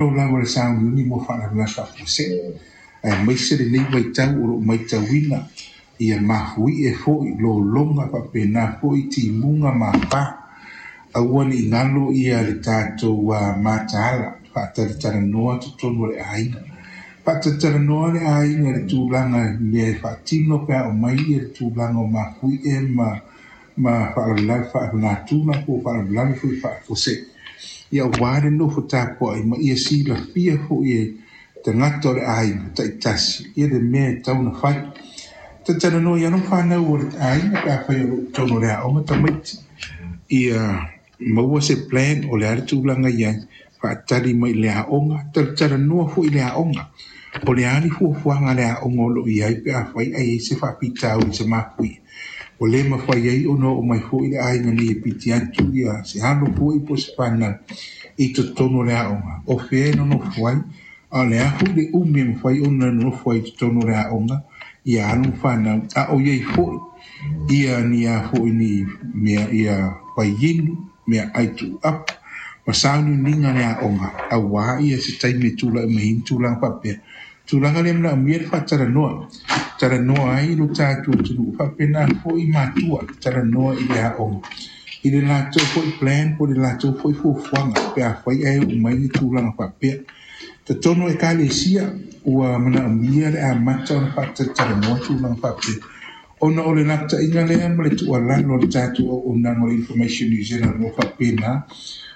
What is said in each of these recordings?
Lava o le sauniuni mo faalavelave faafuasei, aemaise lenei vaitau o lo o matauina ia mafuie foi lologa faapena foi timuga ma afa. Aua ne i galo le tatou mataala faatalatalanoa totonu o le aiga. Faatalatalanoa le aiga i le tulaga i mea e faatino pe a oo mai le tulaga o mafuie ma faalavelave faalenatura po o faalavelave foi faafuasei. Ia aua le nofo tapuai ma ia silafia foi e tagata o le aiga taitasi ia le mea e tatau ona fai. Talatalanoa i alo ma fanau o le aiga pe afai o lo o i totonu o le aoga tamaiti, ia maua se plan o le a le tulaga e i ai, faatali mai i le aoga. Talatalanoa foi i le aoga, o le a le fuafuaga a le aoga o lo o i ai pe afai ae i ai se faafitauli i se mafuie, ua le mafai ai ona oo mai foi le aiga nei e piki atu se alo foi po o se fanau i totonu o le aoga, o fea e nonofo ai, a o le a foi le umi e mafai ona nonofo ai i totonu o le aoga ia alo ma fanau, a o i ai foi ia ni a foi ni mea ia vaiinu, meaai tuuapu ma sauniuniga a le aoga, aua ia se taimi e tulai mai ai ni tulaga faapea. Tulaga lea e manaomia le faatalanoa, talanoa ai lo tatou atunuu, faapena foi matua, talanoa i le aoga i le latou foi plan po o le latou foi fuafuaga pe afai ae oo mai ni tulaga faapea. Totonu o Ekalesia ua manaomia le amata ona faatalatalanoa tulaga faapea, ona o le lapataiga lea ma le tuualalo a le tatou auaunaga o le Information New Zealand o lo o faapena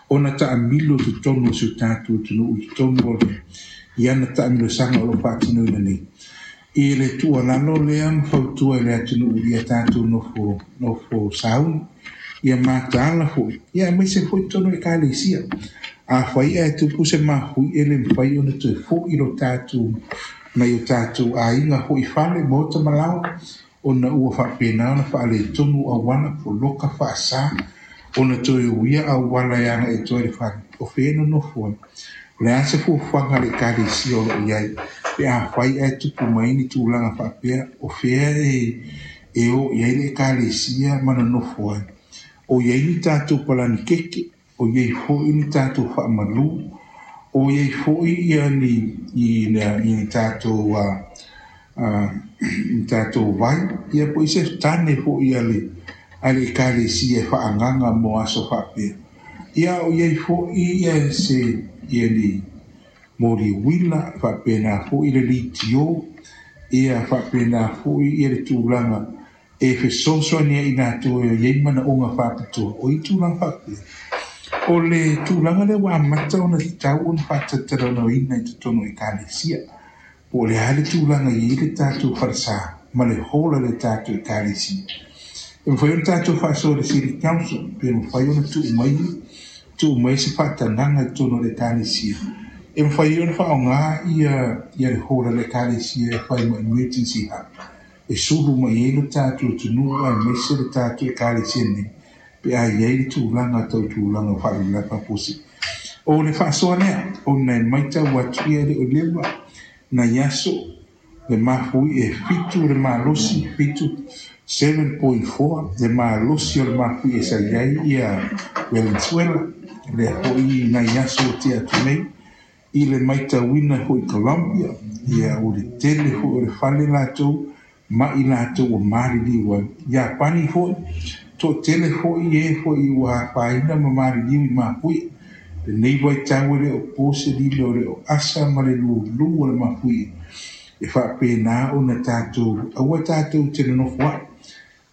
ona taamilo i totonu o si o tatou atunuu i totonu o i ana taamilosaga o lo o faatinoina nei. I le tuualalo lea ma fautua i le atunuu ia tatou nofo sauni, ia mataala foi, ia aemaise foi totonu o Ekalesia. Afai ae tupu se mafuie e le mafai ona toe foi lo tatou nai o tatou aiga foi i fale, maota ma laoa, ona ua faapena ona faaletonu auala, poloka faasa ona toe uia auala e agai atu ai i le fale, o fea e nonofo ai. O le a se fuafuaga a le Ekalesia o lo o i ai pe afai ae tupu mai ni tulaga faapea, o fea e o i ai le Ekalesia ma nonofo ai. O i ai ni tatou palanikeke, o i ai foi ni tatou faamalu, o i ai foi ia ni tatou tatou vai, ia po o se tane foi a le Ekalesia e faaagaga mo aso faapea. Ia o i ai foi ia se ia ni moli uila, faapena foi le litio, ia faapena foi ia le tulaga e fesoasoani ai i latou e i ai manaoga faapitoa. O i tulaga faapea. O le tulaga lea ua amata ona tatau ona faatalatalanoaina i totonu o Ekalesia. Po o le a le tulaga e i ai le tatou falesa ma le hall a le tatou Ekalesia. E mafai ona tatou faasoa i le City Council pe mafai ona tuu mai se faatagaga i totonu o le Ekalesia. E mafai ona faaaoga ia le hall a le Ekalesia e fai ma emergency hub. E sulu mai ai lo tatou atunuu aemaise le tatou Ekalesia nei pe a i ai le tulaga tau tulaga o faalavelave faafuasei. O le faasoa lea, ona e matau atu ia e le o leva nai aso le mafuie e 7 le malosi, 7.4 le malosi o le mafuie sa i ai ia Venezuela, lea foi nai aso o tea atu nei, i le matauina foi i Colombia, ia o le tele foi o le fale latou ma i latou ua maliliu ai. Iapani foi, toatele foi e foi ua afaina ma maliliu i mafuie. Lenei vaitau e le o po se lilo, e le o asa ma le lulu o le mafuie. E faapena ona tatou, aua tatou te nonofo ai.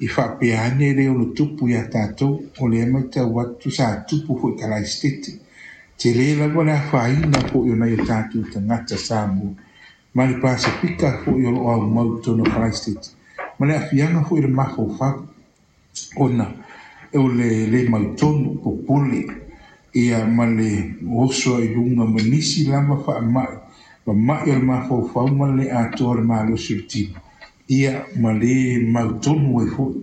I faapea ane le ono tupu ia tatou, o lea matau atu sa tupu foi i Kalaesetete. Tele lava le afaina foi o nai o tatou tagata Samoa ma le Pasefika foi o lo o aumau i totonu o Kalaesetete, ma le aafiaga foi o le mafaufau, ona o le le mautonu, popole, ia ma le oso ai i luga ma nisi lava faamai, ma mai o le mafaufau ma le atoa o le malosi o le tino, ia ma le mautonu ai foi.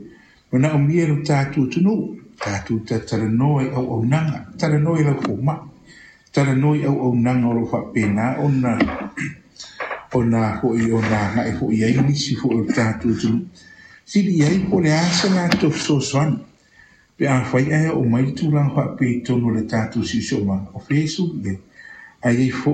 Manaomia lo tatou atunuu, tatou talanoa i auaunaga, talanoa i lau fomai, talanoa i auaunaga o lo o faapena ona foi ona agai foi i ai nisi foi o le tatou atunuu. Sili i ai po o le a se latou fesoasoani pe afai ae oo mai le tulaga faapea i totonu o le tatou siosiomaga, o fea e sulu i ai. Ae i ai foi